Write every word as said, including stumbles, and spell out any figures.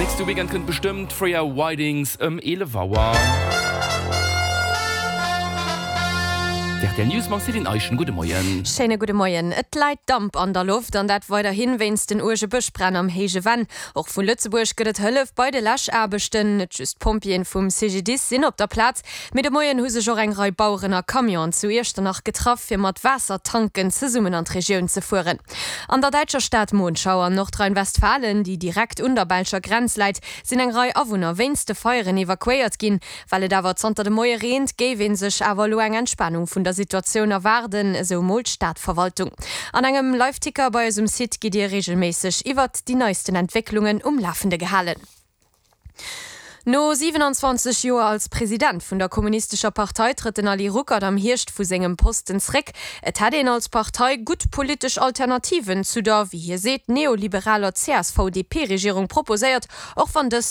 Nächste Weekend kënnt bestëmmt Freya Whitings ëm eelef Auer. Rtl News mam Céline Eischen. Gudde Moien. Schéine gudde Moien. Et läit Damp an der Loft an dat weiderhin wéinst den uerge Bëschbränn am Héije Venn. Och vu Lëtzebuerg gëtt et Hëllef bei de Läschaarbechten. Net just d'Pompjeeën vum CGDIS sinn op der Plaz, mee de Moien hu sech och eng Rei Baueren a Camionen zu Iechternach getraff, fir mat Waassertanken zesummen an d'Regioun ze fueren. An der däitscher Stad Monschau an Nordrhein-Westfalen, déi direkt un der belscher Grenz läit, sinn eng Rei Awunner wéinst de Feieren evakuéiert ginn. Well et awer zanter de Moie reent, géif ee sech awer elo eng Entspanung vun der Situatioun erwaarden, esou mol d'Stadverwaltung. An engem Liveticker bei eis um Site gitt Dir reegelméisseg iwwert déi neisten Entwécklungen um Lafende gehalen. No siwenanzwanzeg Joer als President vun der Kommunistescher Partei trëtt den Ali Ruckert am Hierscht vu sengem Posten zréck. Et hätt een als Partei gutt politesch Alternativen zu der, wéi hie seet, neoliberaler C S V D P Regierung proposéiert, och wann dës net